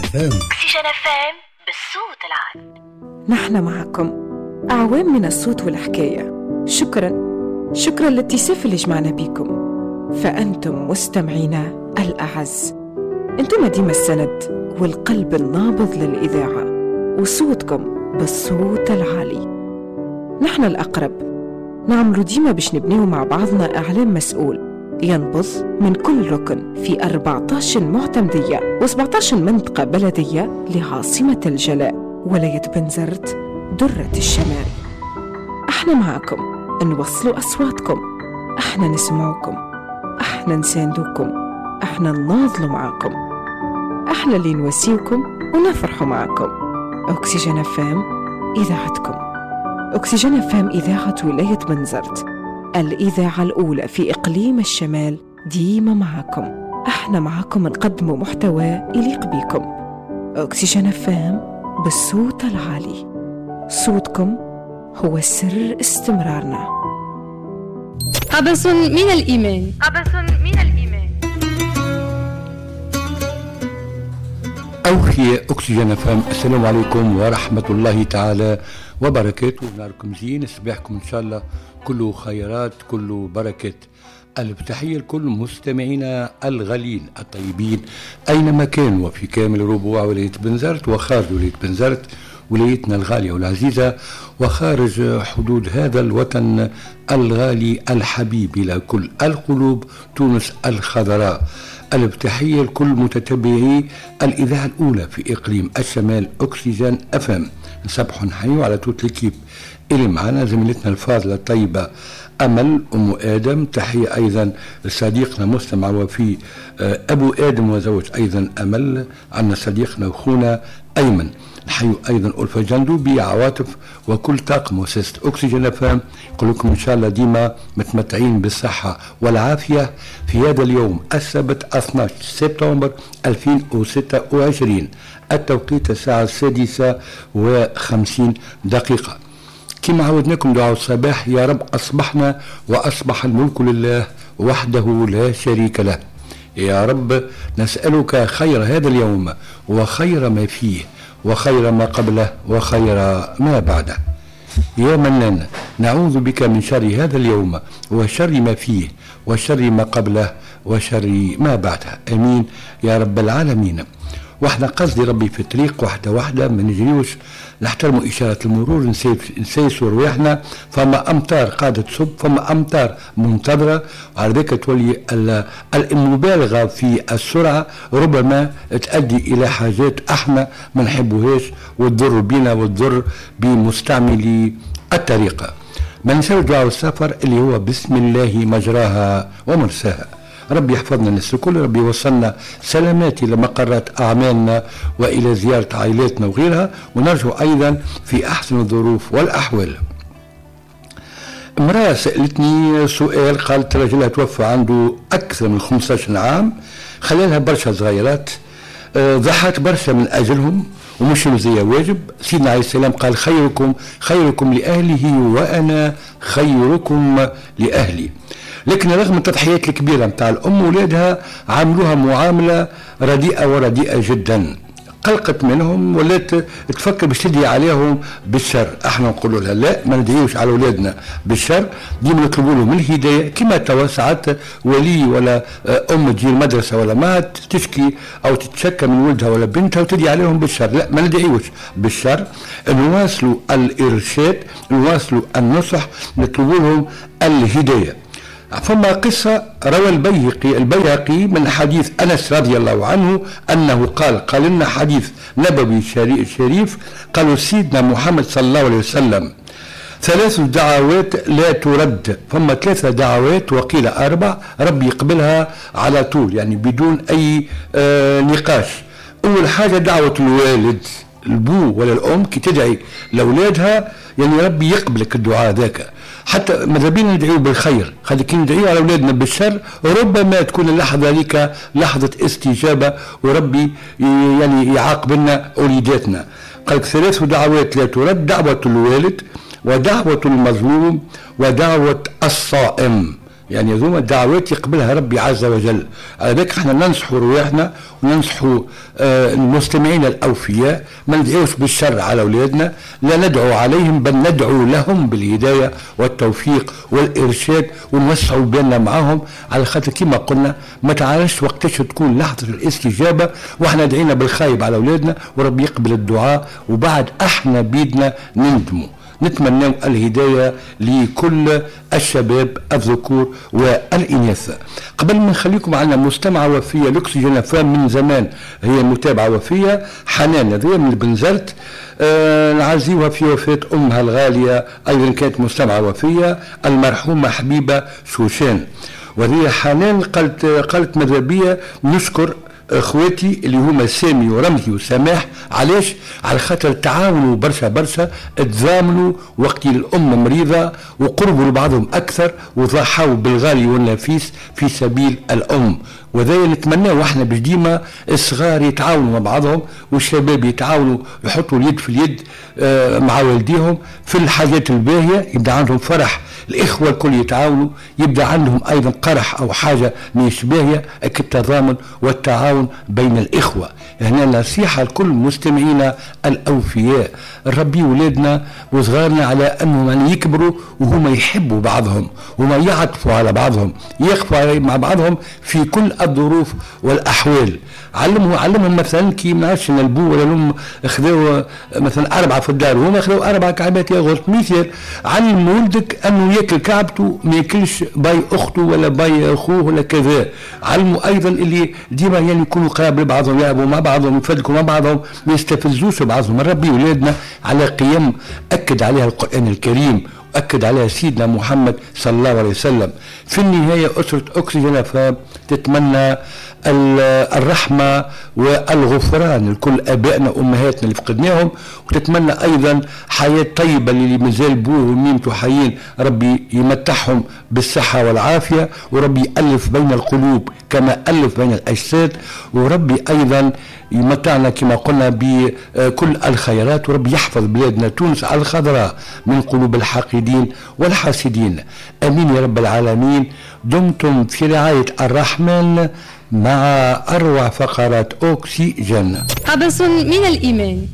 FM. اكسجين FM بالصوت العالي. نحن معكم أعوام من الصوت والحكاية. شكرا شكرا للاتساف اللي جمعنا بيكم، فأنتم مستمعينا الأعز، أنتم ديما السند والقلب النابض للإذاعة، وصوتكم بالصوت العالي. نحن الأقرب، نعمل ديما باش نبنيو مع بعضنا إعلام مسؤول ينبض من كل ركن في 14 معتمدية و17 منطقة بلدية لعاصمة الجلاء ولاية بنزرت درة الشمال. احنا معاكم نوصلوا أصواتكم، احنا نسمعوكم، احنا نساندوكم، احنا نناضلوا معاكم، احنا اللي نواسيوكم ونفرحوا معاكم. أكسجين FM إذاعتكم. أكسجين FM إذاعة ولاية بنزرت، الإذاعة الأولى في إقليم الشمال، ديما معاكم. احنا معاكم نقدموا محتوى يليق بيكم. أكسجين FM بالصوت العالي، صوتكم هو سر استمرارنا. قبس من الإيمان. قبس من الإيمان. أوحي أكسجين FM. السلام عليكم ورحمة الله تعالى وبركاته. نهاركم زين، صباحكم إن شاء الله كله خيرات كله بركات. ألف تحية لكل مستمعينا الغالين الطيبين أينما كانوا وفي كامل ربوع ولاية بنزرت وخارج ولاية بنزرت، ولايتنا الغالية والعزيزة، وخارج حدود هذا الوطن الغالي الحبيب إلى كل القلوب، تونس الخضراء. ألف تحية لكل متتبعي الإذاعة الأولى في إقليم الشمال أكسجين FM. نصبحوا نحيوا على toute l'équipe اللي معنا، زميلتنا الفاضلة الطيبة أمل أم آدم. تحية أيضا لصديقنا مستمع وفي أبو آدم وزوج أيضا أمل. عندنا صديقنا وخونا أيمن. نحيو أيضا ألفا جندوبي، عواطف، وكل طاقم مؤسسة أكسجين FM. نقول لكم إن شاء الله ديما متمتعين بالصحة والعافية في هذا اليوم السبت 12 سبتمبر 2026، التوقيت الساعة 6:50. كما عودناكم دعاء الصباح، يا رب أصبحنا وأصبح الملك لله وحده لا شريك له. يا رب نسألك خير هذا اليوم وخير ما فيه وخير ما قبله وخير ما بعده. يا منان نعوذ بك من شر هذا اليوم وشر ما فيه وشر ما قبله وشر ما بعده، امين يا رب العالمين. واحنا قصدي ربي في الطريق واحدة واحدة، ما نجريوش، نحترموا إشارة المرور، نسيسوا رواحنا. فما أمطار قاعدة تصب، فما أمطار منتظرة، وعلى ذلك تولي المبالغة في السرعة ربما تؤدي إلى حاجات احنا ما نحبوهاش وتضر بنا وتضر بمستعملي الطريقة. ما ننساوش دعاء السفر اللي هو بسم الله مجراها ومرساها. ربي يحفظنا الناس الكل، ربي يوصلنا سلامات إلى مقرات أعمالنا وإلى زيارة عائلاتنا وغيرها، ونرجو أيضا في أحسن الظروف والأحوال. امرأة سألتني سؤال، قالت رجلها توفى عنده أكثر من 15 عام، خلالها برشا صغيرات، ضحت برشا من أجلهم ومش مزية واجب. سيدنا عليه السلام قال خيركم خيركم لأهله وأنا خيركم لأهلي. لكن رغم التضحيات الكبيرة متاع الأم، ولادها عاملوها معاملة رديئة ورديئة جدا، قلقت منهم ولات تفكر باش تدعي عليهم بالشر. احنا نقولوا لها لا، ما ندعيوش على اولادنا بالشر، ديما نطلبوا لهم الهداية. كما توا ساعات ولي ولا ام تجي المدرسة ولا ما تشكي او تتشكى من ولدها ولا بنتها وتدعي عليهم بالشر، لا ما ندعيوش بالشر، نواصلوا الارشاد، نواصلوا النصح، نطلبوا لهم الهداية. فما قصة روى البيهقي من حديث أنس رضي الله عنه أنه قال لنا حديث نبوي شريف، قالوا سيدنا محمد صلى الله عليه وسلم 3 دعوات لا ترد. فما 3 دعوات وقيل 4 ربي يقبلها على طول، يعني بدون أي نقاش. أول حاجة دعوة الوالد، البو ولا الأم كي تدعي لأولادها يعني ربي يقبلك الدعاء ذاك. حتى ماذا بينا ندعيو بالخير، خلي كي ندعيو على اولادنا بالشر ربما تكون اللحظة هذيك لحظة استجابة وربي يعني يعاقب لنا اوليداتنا. قالك 3 دعوات لا ترد: دعوه الوالد ودعوة المظلوم ودعوة الصائم. يعني هذوما دعوات يقبلها ربي عز وجل. على ذلك احنا ننصحوا رواحنا وننصحوا المستمعين الاوفياء، ما ندعوش بالشر على اولادنا، لا ندعو عليهم بل ندعو لهم بالهداية والتوفيق والارشاد، ونوسعوا بالنا معاهم، على خاطر كما قلنا ما تعرفش وقتاش تكون لحظة الاستجابة، واحنا دعينا بالخايب على اولادنا وربي يقبل الدعاء، وبعد احنا بيدنا نندموا. نتمنى الهداية لكل الشباب الذكور والإناث. قبل ما نخليكم عندنا مستمعة وفية لأكسجين FM من زمان، هي متابعة وفية، حنان هذه من بنزرت، نعزيوها في وفاة أمها الغالية، أيضا كانت مستمعة وفية، المرحومة حبيبة شوشان. وهي حنان قالت ماذا بيا نشكر اخواتي اللي هما سامي ورمزي وسماح. علاش؟ على خاطر تعاونوا برشا برشا، تزامنوا وقت الام مريضه وقربوا لبعضهم اكثر، وضحوا بالغالي والنفيس في سبيل الام. وذا نتمناه واحنا باش ديما الصغار يتعاونوا مع بعضهم والشباب يتعاونوا، يحطوا اليد في اليد مع والديهم في الحاجات الباهيه، يبدا عندهم فرح، الاخوة الكل يتعاونوا، يبدا عندهم ايضا قرح او حاجة مش باهيه، التضامن والتعاون بين الاخوة. هنا نصيحة لكل مستمعينا الاوفياء، نربي ولادنا وصغارنا على انهم يعني يكبروا وهما يحبوا بعضهم، وما يعطفوا على بعضهم، يقفوا مع بعضهم في كل الظروف والاحوال. علمهم مثلا كي ما نعرفش البو ولا الام خذاو مثلا 4 في الدار وهما خذاو 4 كعبات ياغورت، مثال علم ولدك انه ياكل كعبته ما ياكلش باي اخته ولا باي اخوه ولا كذا. علموا ايضا اللي ديما يعني يكونوا قراب لبعضهم، يلعبوا مع بعضهم، يفدكوا مع بعضهم، ما يستفزوش بعضهم. نربي ولادنا على قيم اكد عليها القران الكريم، أكد عليها سيدنا محمد صلى الله عليه وسلم. في النهاية أسرة أكسجين FM تتمنى الرحمة والغفران لكل أبائنا وأمهاتنا اللي فقدناهم، وتتمنى أيضا حياة طيبة اللي مازال بوه وميمته حيين، ربي يمتعهم بالصحة والعافية، وربي يألف بين القلوب كما ألف بين الأجساد، وربي أيضا يمتعنا كما قلنا بكل الخيرات، وربي يحفظ بلادنا تونس الخضراء من قلوب الحاقدين والحاسدين. أمين يا رب العالمين. دمتم في رعاية الرحمن مع أروع فقرات أكسجين. قبس من الإيمان.